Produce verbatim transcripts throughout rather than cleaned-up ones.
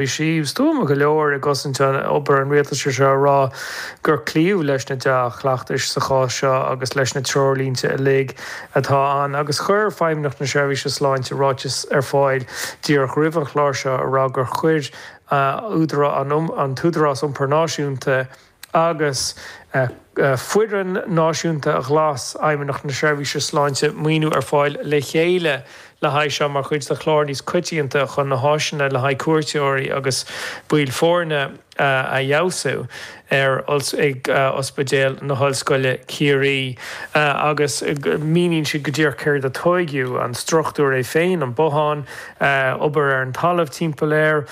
Bhí sí stuama go leor i gcosaint an obair an rialtais seo a rá gur cloíodh leis na dea-chleachtais sa chás seo agus leis na treoirlínte uilig atá ann agus chuir Feidhmeannacht na Seirbhíse Sláinte ráiteas ar fáil díreach roimh an chlár seo a rá gur chuir an tÚdarás Iompair Náisiúnta agus Foireann Náisiúnta Ghlas Fheidhmeannacht na Seirbhíse Sláinte maoiniú ar fáil le chéile le haghaidh seo mar chuid de chlár níos coitianta chun na háiseanna le haghaidh cuairteoirí agus baill foirne a fheabhsú ar ag Ospidéal na hOllscoile Ciarraí agus míníonn siad go díreach céard a tóigeadh, an struchtúr é féin, an bothán, obair ar an talamh timpeall air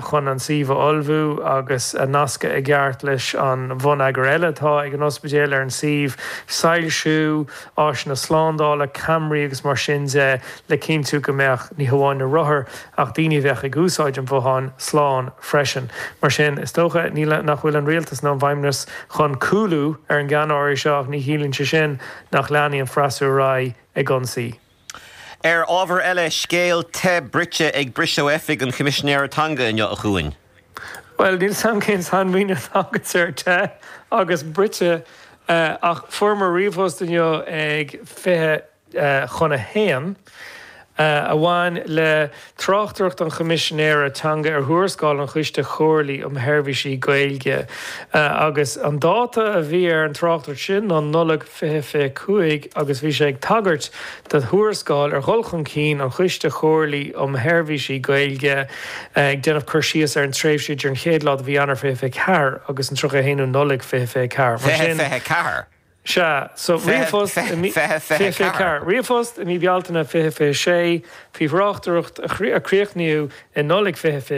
chun an suíomh a ullmhú agus a nascadh i gceart leis an bhonneagar eile atá ag an ospidéal ar an suíomh, soilsiú, áiseanna slándála, ceamaraí agus mar sin de le cinntiú go mbeadh ní hamháin na rothair ach daoine a bheadh ag úsáid an bhotháin slán freisin. Mar sin, is dócha nach bhfuil an rialtas nó an bhFeidhmeannas chun cúlú ar an gceannáras seo ach ní chiallaíonn sé sin nach leanfaidh an freasúra ar aghaidh ag ionsaí. Ar ábhar eile, scéal te bruite ag briseadh oifig an Choimisinéara Teanga inniu a Chuain. Bhuel, níl 's a'm cén sainmhíniú atá agat ar te agus bruite ach fuaireamar ríomhphost inniu ag fiche chun a haon a bhain le tráchtaireacht an Choimisinéara Teanga ar thuarascáil an Choiste Chomhairligh um Sheirbhísí Gaeilge agus an dáta a bhí ar an tráchtaireacht sin ná Nollaig fiche fiche cúig agus bhí sé ag tagairt do thuarascáil ar dhul chun cinn an Choiste Chomhairligh um Sheirbhísí Gaeilge ag déanamh cur síos ar an tréimhse idir an chéad lá de mhí Eanáir fiche fiche ceathair agus an tríocha a haon Nollaig fiche fiche ceathair. Mar Fiche sin fiche ceathair. Sea, so ríomhphost i mí Fiche fiche fiche fiche ceathair. ceathair. Ríomhphost i mí Bealtaine fiche fiche sé faoi thráchtaireacht a chríochnaíodh i Nollaig fiche fiche